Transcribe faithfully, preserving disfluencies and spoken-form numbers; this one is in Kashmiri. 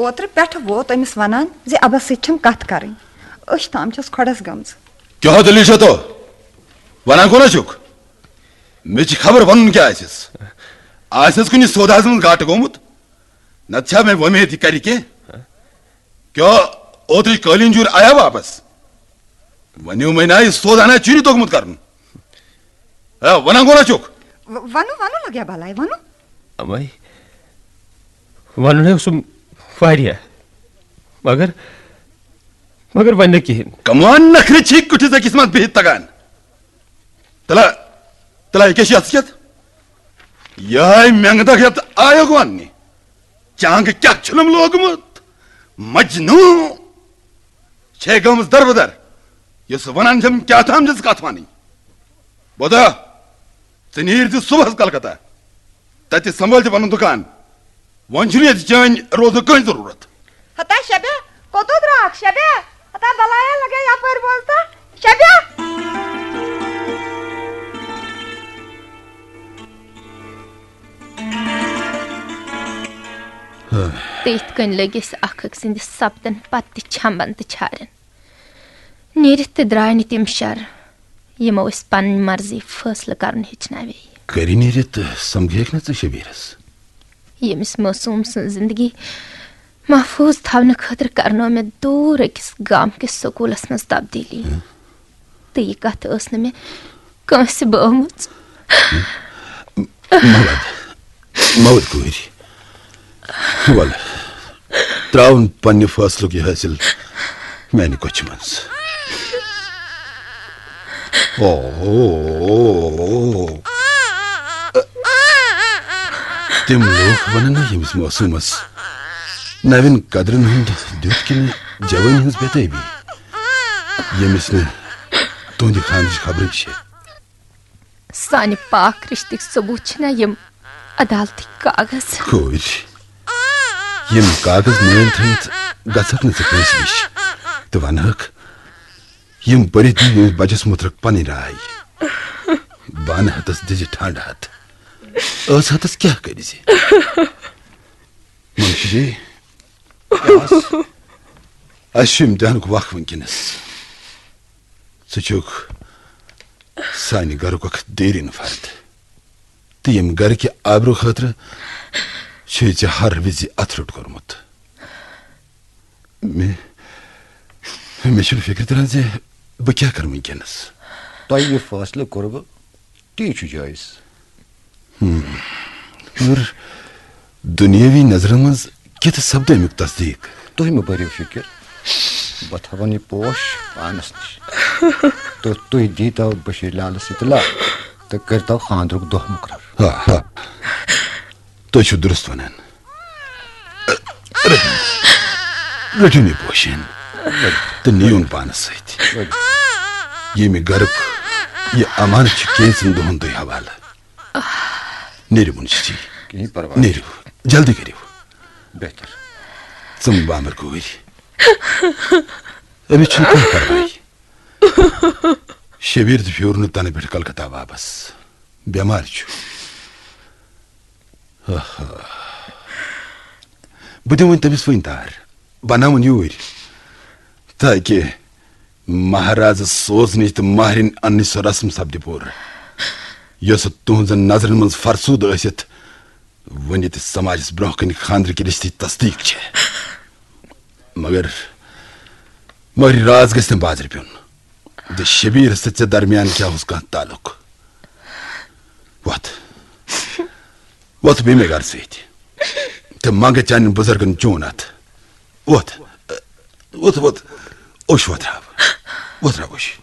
اوترٕ پٮ۪ٹھٕ ووت أمِس ونان زِ ابس سۭتۍ چھم کتھ کرٕنۍ۔ أچھ تام چھس کھۄڈس گٔمٕژ۔ کیٛاہ دٔلیٖل چھےٚ تو؟ ونان کونہ چھُکھ؟ مےٚ چھِ خبر ونُن کیٛاہ آسٮ۪س۔ آسٮ۪س کُنہِ سوداہس منٛز گاٹہٕ گوٚمُت؟ نتہٕ چھا مےٚ وۄمید یہِ کرِ کینٛہہ؟ کیٛاہ اوترٕچ قٲلیٖن جوٗر آیا واپس؟ ونیو مےٚ نا، یہِ سودا نا چھُنہٕ توٚگمُت کرُن۔ ہے، ونان کونہ چھُکھ؟ و-، ونو، ونو لگیا بلاے، ونو۔ امے ونُن ہے اوسُم واریاہ، مگر، مگر وۄنۍ نہٕ کِہیٖنۍ۔ کمان نخرٕ چھی کُٹھِس أکِس منٛز بِہِتھ تگان۔ تلا، تلا، یہِ کیٛاہ چھِ یَتھ سۭتۍ؟ یِہوٚے مٮ۪نٛگہٕ دَگ یَتھ آیوکھ وَننہِ۔ چانٛگہٕ کیٛاہ چھُنم لوگمُت؟ مجنوٗن چھے گٔمٕژ دربٕدر، یۄس وَنان چھَم کیٛاہ تام چھَس کَتھ وَنٕنۍ۔ بودا، ژٕ نیٖر زِ صُبحَس کلکتہ، تَتہِ سنبھٲلۍ زِ پَنُن دُکان۔ وۄنۍ چھُنہٕ ییٚتہِ چٲنۍ روزنُک کٕہٕنۍ ضروٗرت۔ ہتا شبے، کوٚت درٛاکھ شبے؟ ہتا بلایا لگے یپٲرۍ بوزتھا۔ شبے! تہٕ یِتھ کٔنۍ لٔگۍ أسۍ اکھ أکۍ سٕنٛدِ سپدن پتہٕ تہِ چھمبن تہٕ چھارٮ۪ن۔ نیٖرِتھ تہِ درٛاے نہٕ تِم شر، یِمو أسۍ پنٕنۍ مرضی فٲصلہٕ کرُن ہیٚچھناوے۔ کٔرِنۍ نیٖرِتھ سمکھیکھ نہٕ ژٕ شبیٖرس؟ ییٚمِس معصوٗم سٕنٛز زندگی محفوٗظ تھاونہٕ خٲطرٕ کرنٲو مےٚ دوٗر أکِس گامہٕ کِس سکوٗلس منٛز تبدیٖلی۔ ہہ؟ تہٕ یہِ کتھ ٲس نہٕ مےٚ کٲنٛسہِ بٲومٕژ۔ مہ ود، مہ ود کوٗرِ۔ ول، تراون پننہِ فٲصلُک یہِ حٲصِل میانہِ کۄچھِ منٛز۔ او، تِم لوٗکھ ونن نہ ییٚمِس معصوٗمس نوٮ۪ن قدرن ہُنٛد دیُت کِنہٕ جوٲنی ہٕنٛز بے تٲبی، ییٚمِس نہٕ تُہنٛدِ خانٕچ خبرٕے چھےٚ۔ سانہِ پاک رشتٕکۍ ثبوٗت چھِنہ یِم عدالتٕکۍ کاغذ؟ کورِ، یِم کاغذ مٲلۍ تھٲوِتھ گژھکھ نہٕ ژٕ کٲنٛسہِ نِش تہٕ ونہکھ، یِم پٔرِتھ دِیِو ییٚمِس بچس مُتعلق پنٕنۍ راے۔ بانہٕ ہتس دِژِ ٹھنڈ ہتھ۔ ٲس ہتس کیٛاہ کٔرۍ زِ؟ منشی جی، کیٛاہ اوس؟ اسہِ چھُ امتحانُک وق وٕنکیٚنس۔ ژٕ چھُکھ سانہِ گرُک اکھ دیٖرِن فرد، تہٕ ییٚمہِ گرٕکہِ آبرو خٲطرٕ چھُے ژےٚ ہر وِزِ اتھٕ روٚٹ کوٚرمُت۔ مےٚ، مےٚ چھُنہٕ فِکرِ تران زِ بہٕ کیٛاہ کرٕ وٕنکیٚنس۔ تۄہہِ یہِ فٲصلہٕ کوٚروٕ، تی چھُ جٲیز۔ ہم۔ مگر دُنیٲوی نظرن منٛز کِتھ سپدِ امیُک تصدیق؟ تُہۍ مہٕ بٔرِو فِکر، بہٕ تھاوَن یہِ پوش پانس نِش۔ تہٕ تُہۍ دیٖتو بشیٖر لالس اطلاع تہٕ کٔرۍتو خانٛدرُک دۄہ مُقرر۔ آ، آ۔ تُہۍ چھِو درست ونان۔ رٔٹِو، رٔٹِو یہِ پوشین تہٕ نِیُن پانس سۭتۍ۔ ییٚمہِ گرُک یہِ امانت چھُ کینٛژن دۄہن تُہۍ حوالہٕ۔ نیٖرِو، منشی جی۔ کِہیٖنۍ پرواے۔ نیٖرِو، جلدی کٔرِو۔ بہتر۔ ژٕ مہٕ بامبر کوٗرۍ۔ أمِس چھُنہٕ کانٛہہ پرواے۔ شبیٖر تہِ پھیوٗر نہٕ تنہٕ پٮ۪ٹھ کلکتہ واپس۔ بٮ۪مار چھُ۔ آہا۔ بہٕ دِمہٕ وۄنۍ تٔمِس وۄنۍ تار۔ بناوُن یوٗرۍ، تاکہِ مہرازٕ سوزنٕچ تہٕ مہرِنۍ اننٕچ سۄ رسم سپدِ پوٗرٕ، یۄسہٕ تُہنٛزن نظرن منٛز فرسوٗدٕ ٲسِتھ وُنہِ تہِ سماجس برونٛہہ کنہِ خانٛدرٕکہِ رِشتٕچ تصدیق چھےٚ۔ مگر، مگر یہِ راز گژھِ نہٕ بازرٕ پیوٚن زِ شبیٖرس تہٕ ژےٚ درمیان کیٛاہ اوس کانٛہہ تعلق۔ وۄتھ، وۄتھ بیٚیہِ مےٚ گرٕ سۭتۍ تہٕ منٛگہٕ چانٮ۪ن بُزرگن چون اتھ۔ وۄتھ، وۄتھ، وۄتھ، اوٚش وۄتھراو، وۄتھراو اوٚش۔